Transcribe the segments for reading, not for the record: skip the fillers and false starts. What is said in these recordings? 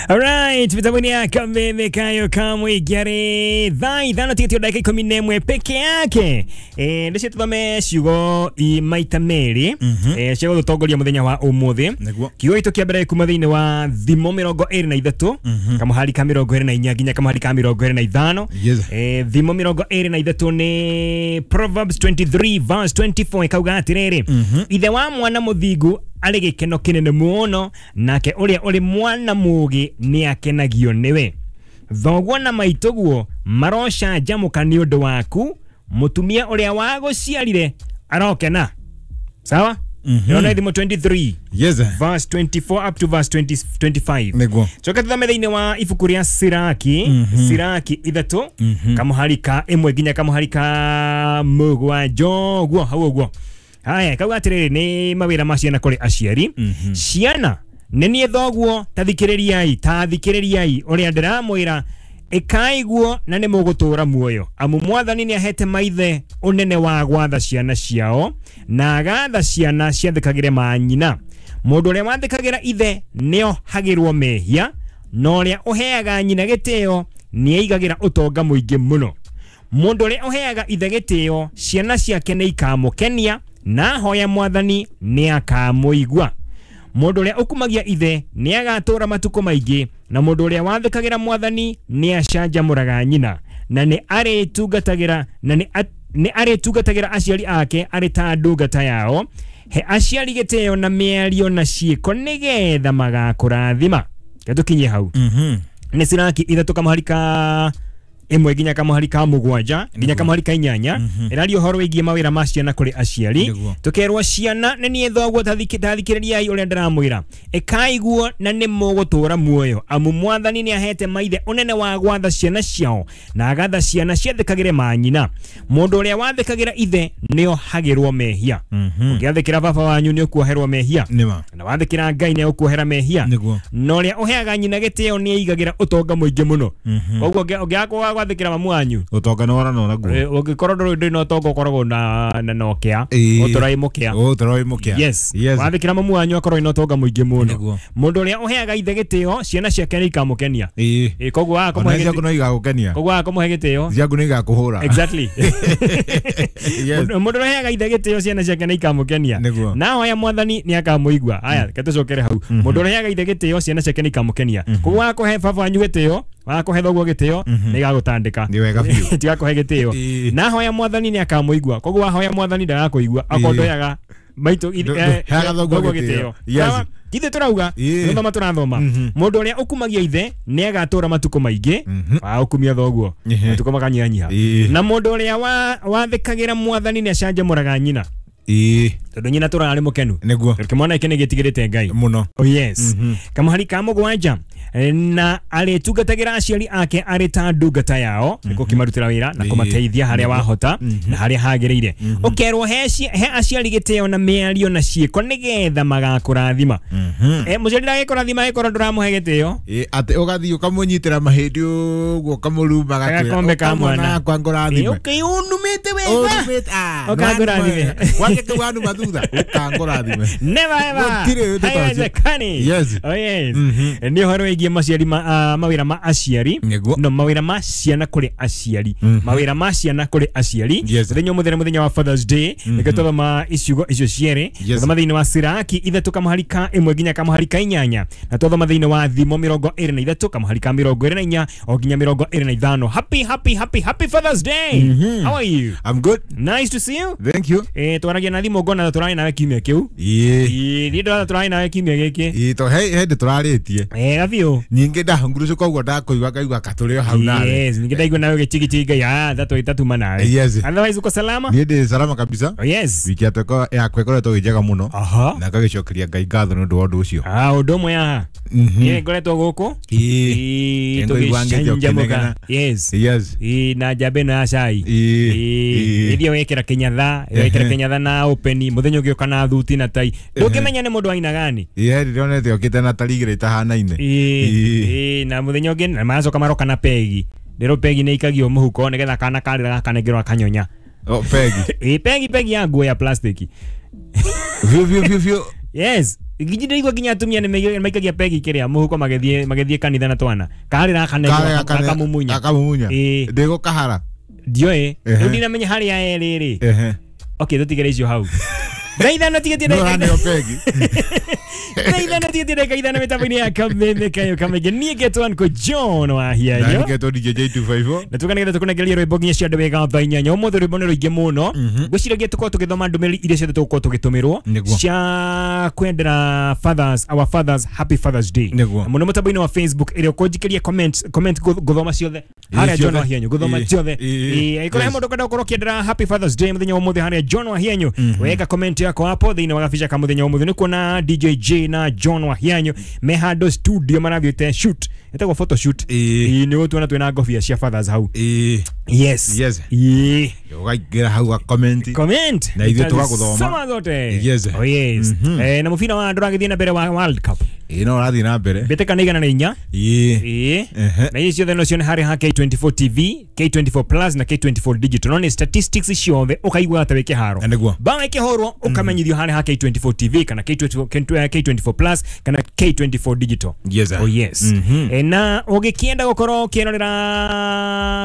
Alright, mitambo ya Kameme Kayo Kamwe Gyare thaa ithano tigĩtio ndagĩka ikũmi na ĩmwe peke yake. Ndĩcio tũthome ciugo i maita merĩ cia gũtũtongoria mũthenya wa ũmũthĩ. Nĩguo. Kiugo gitũ kĩa mbere kuma thĩinĩ wa Thimo 23 kamũhari ka 24 nginya kamũhari ka 25. Yes. Thimo 23 nĩ Proverbs 23 verse 24 ĩkauga atĩrĩrĩ, ithe wa mwana mũthingu arĩ gĩkeno kĩnene mũno, nake ũrĩa ũrĩ mwana mũũgĩ nĩ akenagio nĩwe. Thoguo na maitũguo marocanjamũka nĩ ũndũ waku, mũtumia ũrĩa wagũciarire arokena. Sawa? Ĩno nĩ Thimo 23 Yes. verse 24 up to verse 20, 25. Nĩguo. Coka tuthome thĩinĩ wa ibuku rĩa Siraki, Siraki 3 kamũhari ka 1 nginya kamũhari ka 7 ũguo hau ũguo. Haya, kauga atĩrĩrĩ, nĩ mawĩra ma ciana kũrĩ aciari. Ciana nĩ niĩ thoguo, ta thikĩrĩriai, ta thikĩrĩriai ũrĩa ndĩramwĩra, ĩkai guo na nĩ mũgũtũũra muoyo. Amu mwathani nĩ ahete maithe ũnene wa gwatha ciana ciao, na agatha ciana ciathĩkagĩre manyina. Mũndũ ũrĩa wathĩkagĩra ithe nĩohagĩrwo mehia, na ũrĩa ũheaga nyina gĩtĩo nĩeigagĩra ũtonga mũingĩ mũno. Mũndũ ũrĩa ũheaga ithe gĩtĩo, ciana ciake nĩ ikamũkenia, na ahoya mwathani nĩ akamũigua. Mũndũ ũrĩa ũkumagia ithe nĩ agatũũra matukũ maingĩ, na mũndũ ũrĩa wathĩkagĩra mwathani nĩ acanjamũraga nyina, na nĩ arĩtungatagĩra na nĩ arĩtungatagĩra aciari ake arĩ ta ndungata yao. He aciari gĩtĩo na mĩario na ciĩko nĩgetha magakũrathima. Reke tũkinyie hau. Nĩ Siraki 3 kamũhari ka 1 nginya kamũhari ka 7 nginya kamũhari ka 8 ĩraria ũhoro wĩgiĩ mawĩra ma ciana kũrĩ aciari. Nĩguo. Tũkerwo ciana nĩ niĩ thoguo, ta thikĩrĩriai ũrĩa ndĩramwĩra, ĩkai guo na nĩ mũgũtũũra muoyo. Amu mwathani nĩ ahete maithe ũnene wa gwatha ciana ciao, na agatha ciana ciathĩkagĩre manyina. Mũndũ ũrĩa wathĩkagĩra ithe nĩohagĩrwo mehia. Ũngĩathĩkĩra baba wanyu nĩ ũkuoherwo mehia, Nĩma. na wathĩkĩra Ngai nĩ ũkuohera mehia. Nĩguo. Na ũrĩa ũheaga nyina gĩtĩo nĩ aigagĩra ũtonga mũingĩ mũno. Koguo ũngĩaga kwaga gwathĩkĩra mamu wanyu, Ũtonga nĩ wora naguo. Ũngĩkorwo ndũrĩ na ũtonga ũkoragwo na nokĩa, ũtũra wĩ mũkĩa. Ũtũra wĩ mũkĩa. Yes. Yes. Wathĩkĩra mamu wanyu akorwo wĩna ũtonga mũingĩ mũno. Nĩguo. Mũndũ ũrĩa ũheaga ithe gĩtĩo, ciana ciake nĩ ikamũkenia. Koguo waga Ona kũmũhe ciaku gĩtĩo, no igagũkenia. koguo waga kũmũhe gĩtĩo. Ciaku nĩ igakũhũra. Exactly. Yes. Mũndũ ũrĩa ũheaga ithe gĩtĩo, ciana ciake nĩ ikamũkenia. Nĩguo. Na ahoya mwathani nĩ akamũigua. Haya, reke tũcokere hau. Mũndũ ũrĩa ũheaga ithe gĩtĩo, ciana ciake nĩ ikamũkenia. Koguo waga kũhe baba wanyu gĩtĩo, waga kũhe thoguo gĩtĩo, nĩ igagũtandĩka. Nĩ wega biũ. Tigakũhe gĩtĩo. Na ahoya mwathani nĩ akamũigua. Koguo wahoya mwathani ndagakũigua. Akorwo ndũheaga maitũ Ndũheaga thoguo gĩtĩo. Yes. Sawa? Ithuĩ tũrauga gũthoma tũrathoma. Mũndũ ũrĩa ũkumagia ithe nĩ agatũũra matukũ maingĩ. Wa ũkumia thoguo matukũ makanyihanyiha. Na mũndũ ũrĩa wathĩkagĩra mwathani nĩ acanjamũraga nyina, tondũ nyina tũraga arĩ mũkenu. Nĩguo. Tondũ kĩmwana gĩkĩ nĩ gĩtigĩrĩte Ngai Mũno. Oh yes. Kamũhari ka 7, na arĩtungatagĩra aciari ake arĩ ta ndungata yao, nĩ gũkĩmarutĩra wĩra na kũmateithia harĩa wahota na harĩa hagĩrĩire. Ũkerwo he aciari gĩtĩo na mĩario na ciĩko nĩgetha magakũrathima. Mũciari ndagĩkũrathima angĩkorwo ndũramũhe gĩtĩo. Atĩ ũgathiĩ ũkamũnyitĩra mahĩndĩ ũguo ũkamũruma Gakombe ka mwana. Akwa ngũrathime. Ũkĩũnumĩte wega. Ũnumĩte, ah, Ũkangũrathime. Wake kĩu wanuma thutha ũkangũrathime. Never ever. Gũtirĩ ũndũ ta ũcio. Haiwezekani. Yes. Oh yes. Nĩ ũhoro wĩgiĩ maciari mawĩra ma aciari. Nĩguo. No mawĩra ma ciana kũrĩ aciari. Mawĩra ma ciana kũrĩ aciari. Yes. Mũthenya ũmũthĩ nĩ mũthenya wa Father's Day. Nĩkĩo twathoma iciugo icio cierĩ. Yes. Twathoma thĩinĩ wa Siraki 3 kamũhari ka 1 nginya kamũhari ka 8, na twathoma thĩinĩ wa Thimo 23 kamũhari ka 24 o nginya 25. Happy happy happy happy Father's Day. How are you? I'm good. Nice to see you. Thank you. Twaragia na thimũ ngona tũrarĩ nawe kiumia kĩu. Niĩ ndĩrona tũrarĩ nawe kiumia gĩkĩ. To he hĩndĩ tũrarĩtie. Gabiũ. Nyingĩ ndahungurucũka ũguo ndakũigua ngaigua katũrĩ o hau nawe. Yes, ningĩ ndaigua nawe ũgĩchigichiga ngai, tatuma nawe. Yes. Otherwise uko salama? Niĩ ndĩ salama kabisa. Oh, yes. Wiki yakwa ĩkoretwo ĩ njega mũno. Na ngagĩcokeria Ngai ngatho nĩ ũndũ wa ũndũ ũcio. Ũndũ ũmwe haha. Niĩ ngoretwo gũkũ. Ngũigua ngĩte Tũgĩcanjamũka. ũkĩnegena. Yes. Yes. Na njamba ĩno ya cai. Ĩthiĩ wekĩra kĩnyatha, wekĩra kĩnyatha na open, mũthenya ũngĩ ũka na thuti na tai. Ndũngĩmenya nĩ mũndũ wa aina gani. Ndĩronete okĩte na tari igĩrĩ itahanaine. Na mũthenya ũngĩ na maracoka maroka na pegi. Ndĩrwo pegi nĩ ikagio mũhuko nĩgetha kana karĩra gakanengerwo akanyonya. Oh, pegi. Pegi ya nguo ya plastic. Biũ biũ biũ biũ. Yes. Nginya nginya atumia nĩ maikagia pegi kĩrĩa mũhuko magĩthiĩ kanitha na twana. Karĩ gaka akamumunya. Akamumunya. Ndĩgũkahara. Ndioĩ. Rĩu ndinamenya harĩa erĩ rĩ. Okay, tũtigere icio hau. Thaa ithano tigĩtie ndagĩka ithano mĩtambo-inĩ ya Kameme Kayo Kamege. Niĩ ngetwo Uncle John wa Hianyo. Na ngetwo DJ J254. Na tukanĩgetha tũkũnengeria rwĩmbo nginya cia andũ wega thaa inyanya. Ũmũthĩ rwĩmbo nĩ rũingĩ mũno. Ngwĩciragia tũkorwo tũgĩthoma ndũmĩrĩri iria ciothe tũgũkorwo tũgĩtũmĩrwo cia kwendera fathers, our fathers happy Father's Day. Mũno mũtambo-inĩ wa Facebook ĩrĩa ũkũnjikĩria comment gũthoma ciothe. Harĩa John wa Hianyo gũthoma ciothe. Ĩkorwo he mũndũ ũkwenda gũkorwo ũkĩendera happy Father's Day mũthenya wa ũmũthĩ harĩa John wa Hianyo. Weka comment yako hapo thĩinĩ wa gabica ka mũthenya wa ũmũthĩ. Nĩ kuona DJ J na John wa Hianyo me handũ studio marathiĩte shoot, ĩtagwo photo shoot. Nĩ ũtuona twĩna ngobia cia fathers hau. Yes. Ũkaingĩra hau ga comment na ithuĩ tũgagũthoma soma zote. Oh yes. Na mũbira wa andũ ũragĩthiĩ na mbere wa World Cup. No ũrathiĩ na mbere mbĩtĩka nĩ 104. Na ici ciothe no cione harĩ ha K24 TV, K24 Plus na K24 Digital. No nĩ statistics ciothe ũkaigua ta wĩ kĩharo. Bao ĩkĩhũrwo ũkamenyithio harĩ ha K24 TV kana K24 Plus kana K24 Digital. Oh yes. Na ũgĩkĩenda gũkorwo ũkĩrorera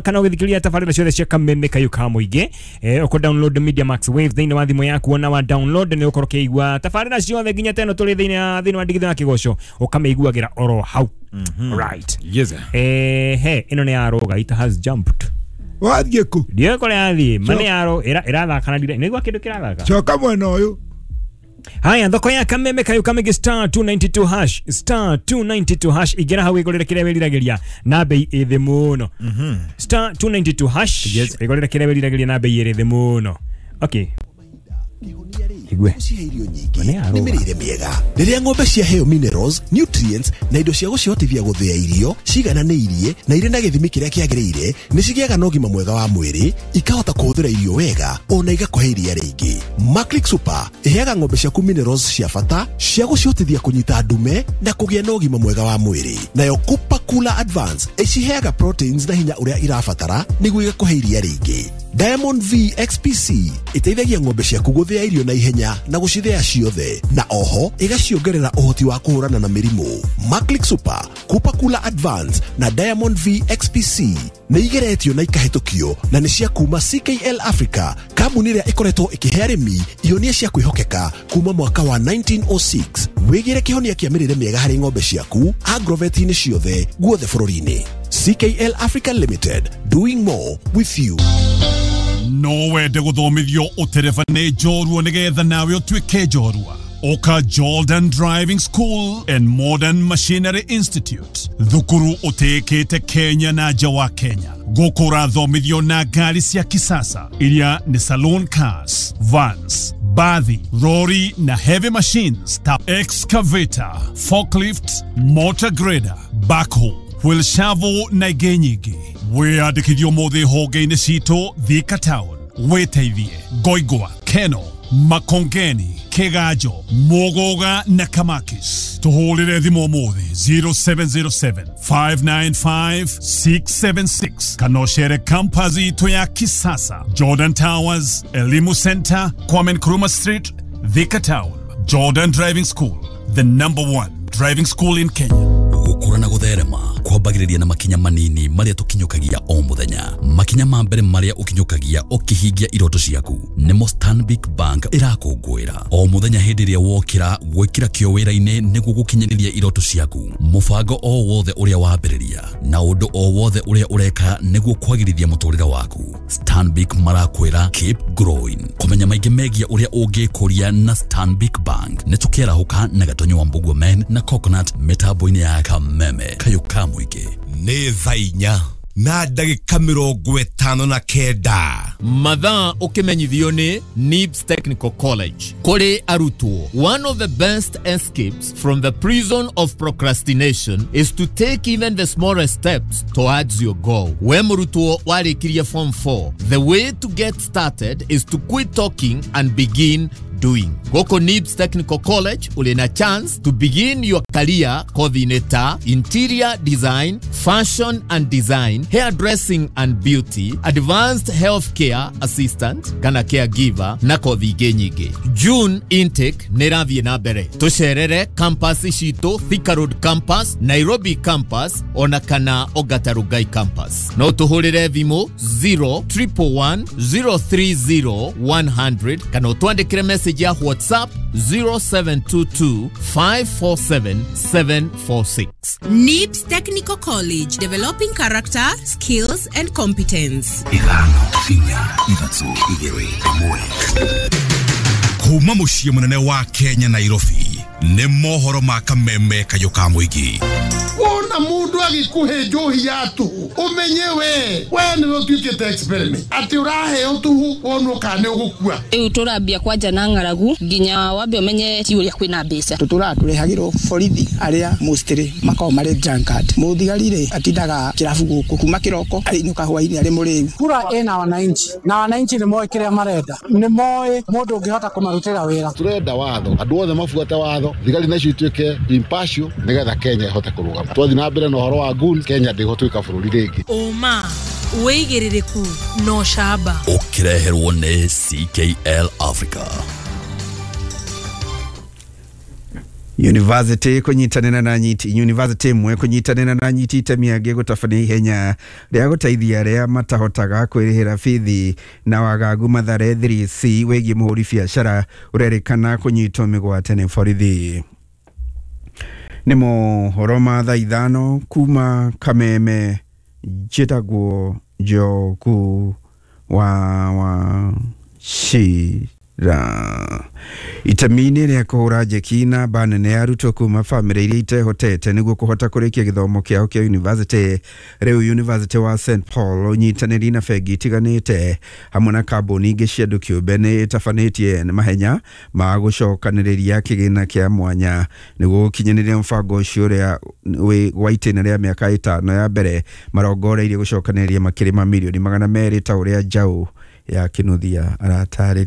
kana ũgĩthikĩrĩria tabarĩra ciothe cia Kameme Kayo ka Mũingĩ, ũkũ download Media Max Wave thĩinĩ wa thimũ yaku. Ona wa download nĩ ũkorwo ũkĩigua tabarĩra ciothe nginya teno tũrĩ thĩinĩ wa ndigithũ ya kĩgoco ũkamĩiguagĩra oro hau. Right. Yes. He ĩno nĩ ya roga, it has jumped. Wathiĩ kũ? Ndiũĩ kũrĩa yathiĩ. Ma nĩ ya ĩrathaka na nĩgua kĩndũ kĩrathaka. Coka mwena ũyũ. Haya, thoko ya Kameme Kayo Kamege star 292 hash, star 292 hash. Igera hau igorere kĩrĩa wĩriragĩria na bei ĩ thĩ mũno. Star 292 hash igorere kĩrĩa wĩriragĩria na bei ĩrĩ thĩ mũno. Okay. Igwe. Irio nyingĩ nĩ mĩrĩre mĩega. Rĩrĩa ng'ombe ciaheo minerals, nutrients na indo cia gũcihotithia gũthĩa irio cigananĩirie na irĩ na gĩthimi kĩrĩa kĩagĩrĩire, nĩ cigĩaga na ũgima mwega wa mwĩrĩ, ikahota kũhũthĩra irio wega ona igakũhe iria rĩingĩ. Maclick Super ĩheaga ng'ombe ciaku minerals cia bata cia gũcihotithia kũnyita ndume na kũgĩa na ũgima mwega wa mwĩrĩ. Nayo Cooper Cooler Advance ĩciheaga proteins na hinya ũrĩa irabatara nĩguo igakũhe iria rĩingĩ. Diamond V XPC ĩteithagia ng'ombe ciaku gũthĩa irio na ihenya na gũcithĩa ciothe, na oho ĩgaciongerera ũhoti wa kũhũrana na mĩrimũ. Maclick Super, Cooper Cooler Advance na Diamond V XPC nĩ igeretio na ikahĩtũkio na nĩ cia kuma CKL Africa, kambuni ĩrĩa ĩkoretwo ĩkĩhe arĩmi ihonia cia kwĩhokeka kuma mwaka wa 1906. Wĩgĩre kĩhonia kĩa mĩrĩre mĩega harĩ ng'ombe ciaku agrovet-inĩ ciothe guothe bũrũri-inĩ. CKL Africa Limited, doing more with you. No wende gũthomithio ũtereba nĩ njorua nĩgetha nawe ũtuĩke njorua. Oka Jordan Driving School and Modern Machinery Institute, thukuru ũtĩĩkĩte Kenya na nja wa Kenya. Gũkũ ũrathomithio na ngari cia kisasa iria nĩ saloon cars, vans, bathi, lorry na heavy machines ta excavator, forklift, motor grader, backhoe, wheel shovel na ingĩ nyingĩ. Wĩyandĩkithio ũmũthĩ honge-inĩ citũ Thika Town, wĩteithie Ngoingwa, Keno, Makongeni, Kiganjo, Muguga na Kamakis. Tuhũrĩre thimũ ũmũthĩ 0707 595 676 kana ũcere campus itũ ya kisasa, Jordan Towers, Elimu Center, Kwame Nkrumah Street, Thika Town. Jordan Driving School, the number one driving school in Kenya. Gũkũra na gũtherema kwambagĩrĩria na makinya manini marĩa tũkinyũkagia o mũthenya. Makinya ma mbere marĩa ũkinyũkagia ũkĩhingia iroto ciaku nĩmo Stanbic Bank ĩrakũngũĩra o mũthenya. Hĩndĩ ĩrĩa wokĩra gwĩkĩra kĩo wĩra-inĩ nĩguo gũkinyanĩria iroto ciaku, mũbango o wothe ũrĩa wambĩrĩria na ũndũ o wothe ũrĩa ũreka nĩguo kwagĩrithia mũtũrĩre waku, Stanbic marakwĩra keep growing. Kũmenya maingĩ megiĩ ũrĩa ũngĩkũria na Stanbic Bank nĩ tũkĩarahũka na Gatonyo wa Mbugua Men na Coconut mĩtambo-inĩ ya Kameme Kayo ka Mũingĩ. Nĩ thaa inya na ndagĩka 59. Mathaa ũkĩmenyithio nĩ NIBS Technical College. Kũrĩ arutwo, one of the best escapes from the prison of procrastination is to take even the smallest steps towards your goal. We mũrutwo warĩkirie form 4, the way to get started is to quit talking and begin doing. Gũkũ NIBS Technical College ũrĩ na chance to begin your career kothi-inĩ ta interior design, fashion and design, hairdressing and beauty, advanced healthcare assistant kana caregiver na kothi ingĩ nyingĩ. June intake nĩ ĩrathiĩ na mbere. Tũcerere campus citũ, Thika Road campus, Nairobi campus ona kana Ongata Rongai campus. No tũhũrĩre thimũ 0111 030 100 kana ũtwandĩkĩre message ya WhatsApp 0722 547 746. NIBS Technical College, developing character, skills and competence. 5 4 3 2 1. Kuma muciĩ mũnene wa Kenya Nairobi nĩ mohoro ma kameme kayũ ka mũingĩ. Wona mundu agikuhe njohi ya tuhu umenye we niwe utuikite experiment ati uraheo tuhu wonwo kana ni ugukua. Riu turambia kwanja na ng'aragu nginya wambe umenye ti uria kwina mbeca. Tutura turehagirwo borithi aria mostly makoragwo mari drunkard. Muthigari ri atindaga kirabu guku kuma kiroko arinuka hwaini ari muriu. Kura ina wananchi na wananchi ni moe kiria marenda, ni moe mundu ungihota kumarutira wira. Turenda watho andu othe mabuate watho, thigari nacio ituike impartial nigetha Kenya ihote kurugama. Twathi na mbere na ũhoro wa goons, Kenya ndĩgũtuĩka bũrũri rĩngĩ. Ũma wĩigĩrĩrĩku no camba ũkĩreherwo nĩ CKL Africa. University kunyitanĩra na nyiti university imwe kunyitanĩra na nyiti itemi angĩ gũtabania ihenya rĩa gũteithia arĩa matahotaga kwĩrĩhĩra bithi na wagagu Mathare 3C wĩgiĩ mũhũri biacara ũrerĩkana kũnyitwo mĩgwate nĩ borithi. Nĩ mohoro ma thaa 5 kuma Kameme, njĩtagwo Njogu wa Wachira. Itemi-inĩ rĩa kũhũra njeki namba nene ya arutwo kuma bamĩrĩ iria itehotete nĩguo kũhota kũrĩkia gĩthomo kĩao kĩa university, rĩu University wa St Paul ũnyitanĩri na bengi itiganĩte hamwe na kambuni ingĩ cia andũ kĩũmbe nĩ ĩtabanĩtie mahenya ma gũcokanĩrĩria kĩgĩna kĩa mwanya nĩguo gũkinyanĩria mũbango ũcio ũrĩa wĩ gwa itĩna rĩa mĩaka 5 ya mbere marongoreirie gũcokanĩrĩria makĩria ma mirioni 200 ta ũrĩa Njaũ ya Kĩnuthia aratarĩria.